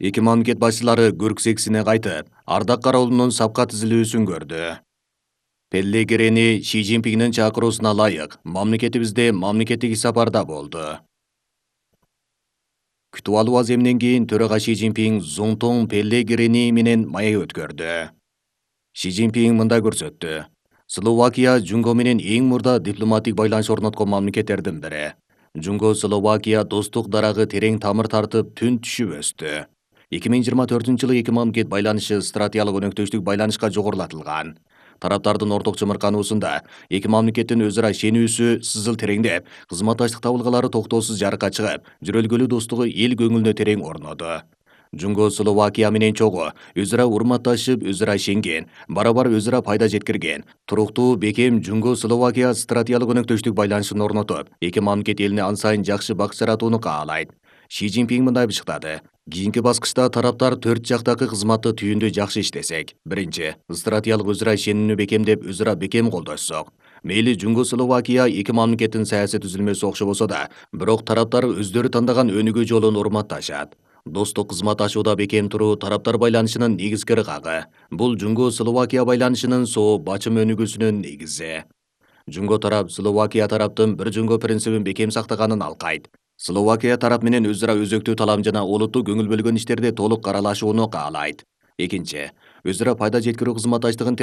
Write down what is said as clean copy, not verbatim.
Эки мамлекет башчылары Көрксексине кайтып, ардак кароолунун сапка тизилүүсүн көрдү. Пеллегрини Ши Цзиньпиндин чакыруусуна ылайык мамлекетибизде мамлекеттик сапарда болду. Күтүп алуу аземинен кийин төрага Ши Цзиньпин Зунтун Пеллегрини менен маек өткөрдү. Ши Цзиньпин мындай көрсөттү. Словакия Жунго менен эң мурда дипломатик байланыш орноткон мамлекеттердин бири. Жунго Словакия достук дарагы терең тамыр тартып, түн түшүп өстү. 2024-жылы эки мамлекет байланышы стратегиялык өнөктөштүк байланышка жогорулатылган. Тараптардын орток чымыркануусунда эки мамлекеттин өзара ишенүүсү сызыл тереңдеп, кызматташтык табылгалары токтоосуз жарыкка чыгып, жүрөлгөлүү достугу эл көңүлүнө терең орноду. Жунго Словакия менен чогуу өзара урматташып, өзара ишенген, барабар өзара пайда жеткирген, туруктуу, бекем Жунго Словакия стратегиялык өнөктөштүк байланышын орнотуп, эки мамлекет элине ан сайын жакшы бак жаратууну каалайт. Ши Цзиньпин мындай бышыктады. Кийинки баскычта тараптар төрт жактагы кызматты түйүндө жакшы иштесек. Биринчи, стратегиялык өзара ишенүүнү бекемдеп, өзара бекем колдошсок. Мейли Жунго Словакия эки мамлекеттин саясий түзүлмөсү окшобосо да, бирок тараптар өздөрү тандаган өнүгүү жолун урматташат. Достук кызматташууда бекем туруу тараптар байланышынын негизги ыргагы. Бул Жунго Словакия байланышынын соо бачым өнүгүүсүнүн негизи. Жунго тарап Словакия тараптын бир жунго принцибин бекем сактаганын алкайт. Словакия тарап менен өзара өзөктүү талам жана олуттуу көңүл бөлгөн иштерде толук аралашууну каалайт. Экинчи, өзара пайда жеткирүү кызматташтыгын